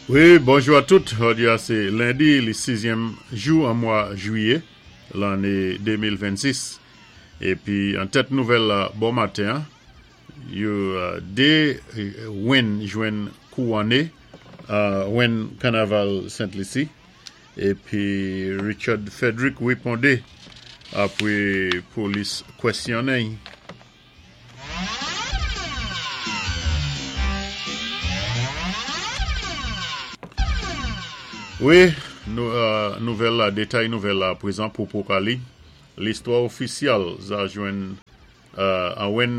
Wi, bonjou a tout. Jodi a sé lendi, li sizyèm jou an mwa jwiyé lanné 2026. Épi an tèt nouvèl la bon maten an, yo 2 rèn jwenn kouwonné rèn kanaval Sent Lisi. Épi Richard Frederick wépondé apwé polis kwèsyonnen-y. Wi, nouvèl la, detay nouvèl la prezan pou Pokali. Listwa ofisyal za jwenn an wen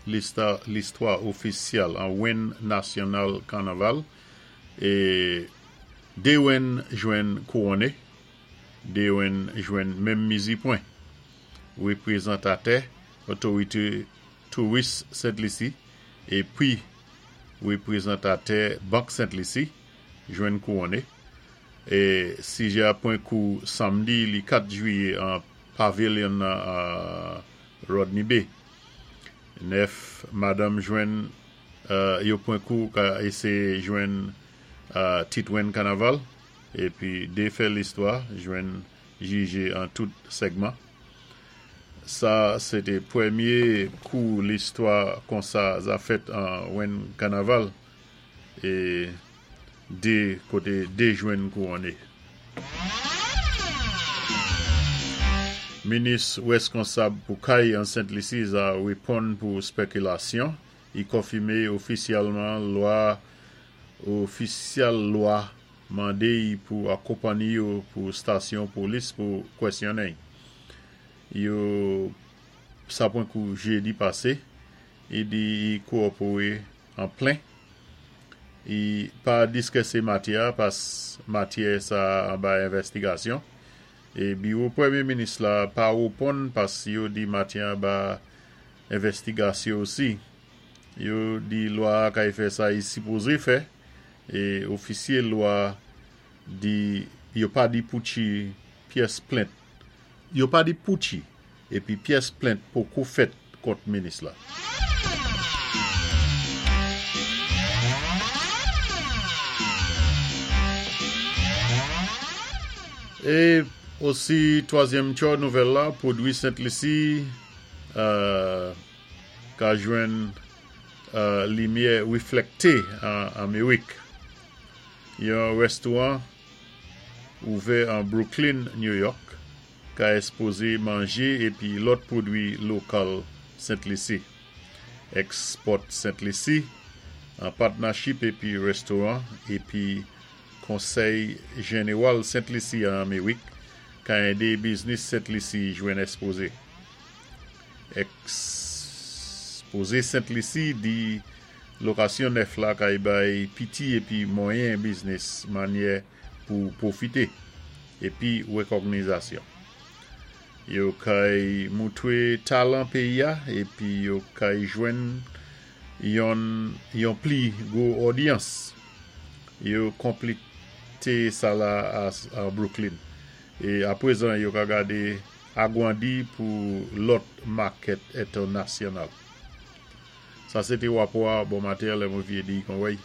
listwa ofisyal an wen nasyonal kanaval e de wen jwenn kouwone, de wen jwenn menm mizi pwen. Reprezantatè Otorite Touris Sent Lisi epi reprezantatè Bank Sent Lisi jwenn kouwone e sijè a pwen kou samdi li 4 jwiye an Pavilion nan Rodney Bay. 9 madanm jwenn yo pwen kou ka eseye jwenn tit rèn kanaval epi 2 fè listwa jwenn jije an tout sègman. Sa se té pwèmyé kou listwa konsa za fèt an rèn kanaval é 2 koté 2 jwenn kouwonné. Minis rèskonsab pou kay an Sent Lisi za reponn pou spèkilasyon, i konfimé ofisyèlman lwa ofisyèl lwa Mande y pou akonpanni yo pou stasyon polis pou kwèsyonnen y. Yo sa pwen kou jedi pase, y di y kowopore an plen. Y pa diskese matyè a pas matyè sa anba envèstigasyon. E biwo premye minis la pa reponn pas yo di matyè anba envèstigasyo osi. Yo di lwa a kay fè sa y sipoze fè. E ofisye lwa di yo pa di Pucci pyès plent. Yo pa di Pucci epi pyès plent poko fèt kont minis la. E osi twazyèm tchò nouvèl la pwodwi Sent Lisi ka jwenn Limyè reflekte an Amerik. Yon restoran ouvè an Brooklyn, New York, ka espoze manje epi lòt pwodwi lokal Sent Lisi. Export Sent Lisi, an patnachip epi restoran epi Konsèy Jeneral Sent Lisi an Amerik, ka ede biznis Sent Lisi jwenn espoze. Ekspoze Sent Lisi di lokasyon nèf la kay bay piti epi mwayen biznis manyè pou pwofite epi rekògnizasyon. Yo kay moutre talan peyi a epi yo kay jwenn yon yon pli gwo odyans. Yo konplete sa la a Brooklyn e aprezan yo ka gade Agwandi pou lòt makèt entènasyonal. Sa se te wapò a bon maten lè mwen vye di kon wèy.